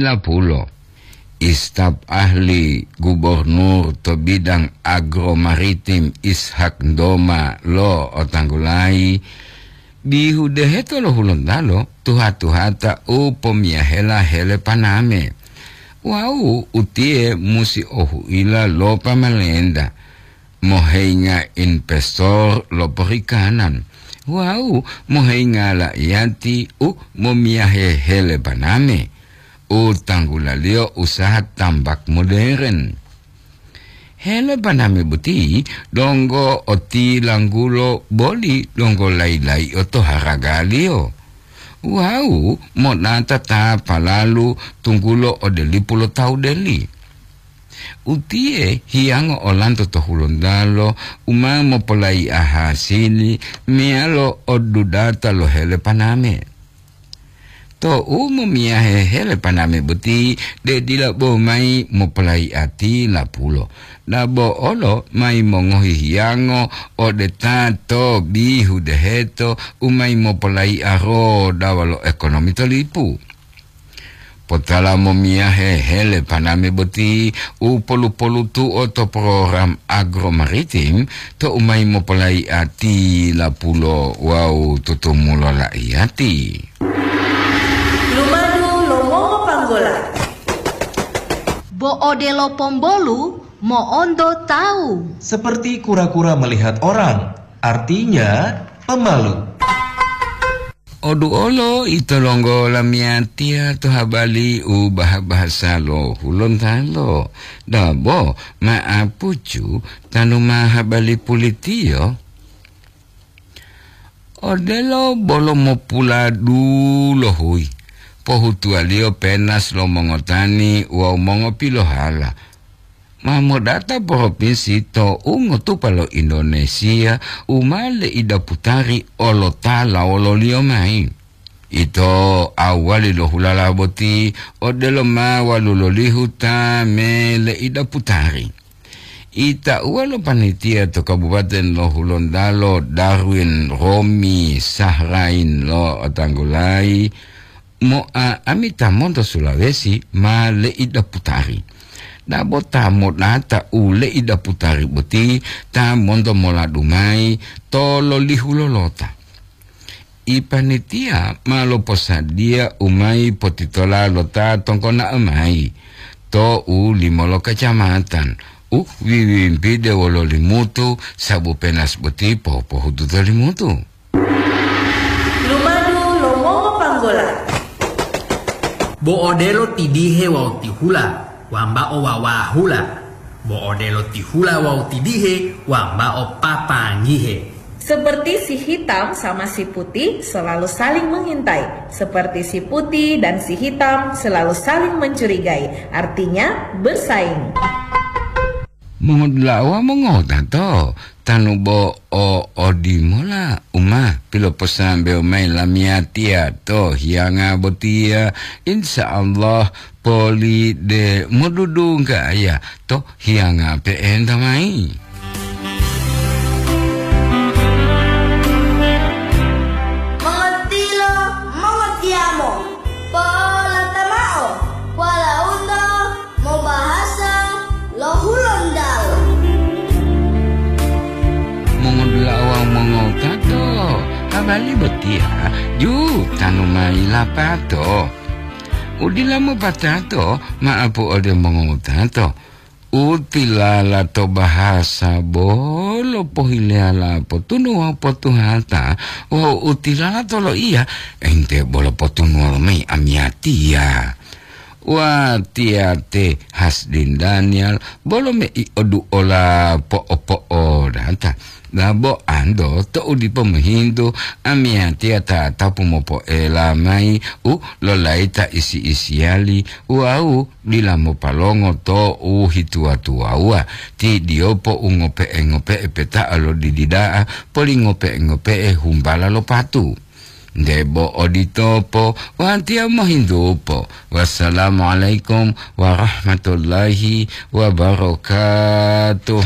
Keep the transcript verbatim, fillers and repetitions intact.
Lapulo, istaf ahli gubernur to bidang agro maritim Ishak Ndoma lo otanggulayi, bihu deheto lo Hulontalo tuha-tuhata u pomiyahela hele paname. Wawu utiye musi ohuila lo pamalenta, moheinga investor lo perikanan, wawu moheinga la'iyati u momiyahe hele paname, u tanggulaliyo usaha tambak moderen. Hele paname boti donggo otilanggulo boli donggo layi-layi'o to haragaliyo. Wawu monata ta palalu tunggulo ode lipu lo tawu deli. Utiye hiyango olanto to Hulontalo u ma mopolayi'a hasili meyalo odudata lo hele paname. Tou momiyahe hele paname boti, de dila bo mayi mopolayi'a tilapulo, dabo olo mayi mongohi hiyango ode ta to bihu deheto u mayi mopolayi'a rodawa lo ekonomi to lipu. Potala momiyahe hele paname boti u polu-polutu'o to program agro maritim to u mayi mopolayi'a tilapulo wawu tutumulo la'iyati. Lumadu lo mongopanggola. Bo odelo pombolu mo'onto tawu. Seperti kura-kura melihat orang, artinya pemalu. Oduolo ito longgo lamiyatiya to habali u baha-bahasa lo Hulontalo, dabo ma'apucu tanu ma habali pulitiyo. Odelo bolo mopuladu lo huyi, pohutuwaliyo penas lo mongotani wawu mongopilohala. Ma modata propinsi to ungotupa lo Indonesia u ma leidaputari olotala wololiyo mayi. Ito awali lo hulala boti odelo ma walulolihu ta me leidaputari. Itauwa lo panitia to Kabupaten lo Hulontalo, Darwin Romi Sahrain lo otanggulayi, moa ami ta monto Sulawesi ma leidaputari. Dabo ta modata u leidaputari boti ta monto moladu mayi to lolihu lolota. Ipanitiya ma loposadiya u mayi potitola lo ta tongkona'o mayi to u limo lo kacamatan u wiwimpide wolo Limutu, sabu penas boti pohupohutu to Limutu. Lumadu lo mongopanggola. Bo odelo tidihe wawu tihula, wambao wawahula. Bo odelo tihula wawu tidihe, wambao papangihe. Seperti si hitam sama si putih selalu saling mengintai, seperti si putih dan si hitam selalu saling mencurigai, artinya bersaing. Mongodula'a wawu mongotato, tanu bo o odimola u ma piloposambewo mayi lamiyatiya to hiyanga botiya, insya Allah poli de modudunggaya to hiyanga pe'enta mayi. Mongotilo, mongotiyamo, po'olata mao, walauto mobahasa lo Hulontalo. Mongodula'a wawu mongotato, habari botiya ju tanu mayi lapato. Udila mopatato, ma'apu ode mongotato. Utilala to bahasa bolo pohileyala potunu wawu potuhata, wawu utilala to loiya, ente bolo potunuwolo mayi amiyatiya. Watiya te Hasdin Daniel, bolo mei oduola po'o-po'odata. Dabo ando to'u dipo mohintu, amiyatiya tatapu mopo'ela mayi u lolayita isi-isiyali wawu dila mopalongo to u hituwa-tuwawuwa, ti diyopo u ngope'e-ngope'e peta'a lo didi da'a, poli ngope'e-ngope'e humbala lo patu. Nde bo oditopo, watiya mohintupo. Wassalamualaikum warahmatullahi wabarakatuh.